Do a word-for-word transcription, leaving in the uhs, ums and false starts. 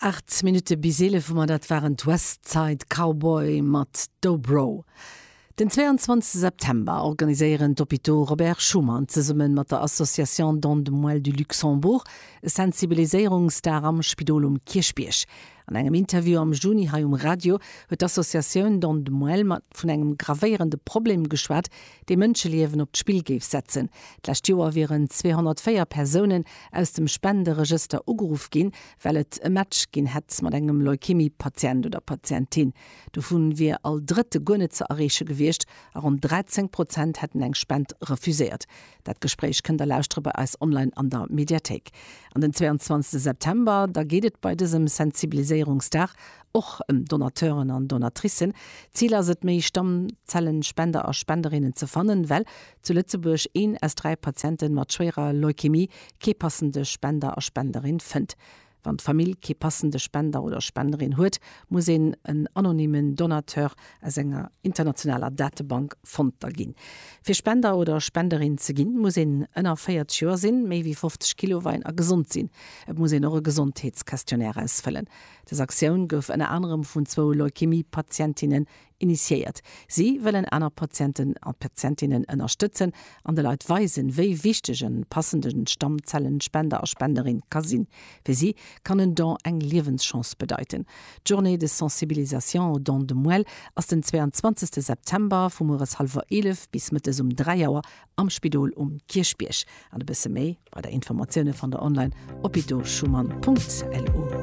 Aacht Minutte bis eelef hu mer, dat waren d'Westside Cowboy mat Dobro. Den zweianzwanzegste September organiséieren d'Hôpitaux Robert Schuman zesumme mat der Association Don de Moelle du Luxembourg e Sensibiliséierungsdag am Spidol um Kierchbierg. An engem Interview am Juni hei um Radio huet d'Associatioun Don de Moelle mat vun engem gravéierende Problem geschwat, dee Mënscheliewen op d'Spill géif setzen. D'lescht Joer wieren zweehonnertvéier Persounen aus dem Spenderegëster ugeruff ginn, well et e Match ginn hätt mat engem Leukämie-Patient oder Patientin. Dovun wier all Drëtte guer net ze erreeche gewiescht a ronn dräizéng Prozent hätten eng Spend refuséiert. Dat Gespréich kënnt der lauschtere bei eis online an der Mediathéik. An den zweiandzwanzegste September, da geet et bei dësem Sensibiliséierungsdag och ëm Donateuren an Donatricen. Zil ass et, méi Stammzellenspender a Spenderinnen ze fannen, well zu Lëtzebuerg een aus dräi Patiente mat schwéierer Leukämie kee passende Spender a Spenderin fënnt. Wann d'Famill kee passende Spender oder Spenderin huet, muss een en anonymen Donateur aus enger internationaler Datebank fonnt da ginn. Fir Spender oder Spenderin ze ginn, muss een ënner véierzeg Joer sinn, méi wéi fofzeg Kilo weien a gesond sinn. Et muss een och e Gesondheetsquestionnaire ausfëllen. Dës Aktioun gouf ënner anerem vun zwou Leukämie-Patientinnen initiéiert. Si wëllen aner Patienten a Patientinnen ënnerstëtzen an de Leit weisen, wéi wichteg e passende Stammzellenspender a Spenderin ka sinn. Fir si kann en Don eng Liewenschance bedeiten. D'Journée de sensibilisation au don de moelle ass den zweiandzwanzegste September vu mueres hallwer eelef bis mëttes um dräi Auer am Spidol um Kierchbierg. An e bësse méi bei der Informatioune fannt der online op hôpitauxschuman Punkt lu.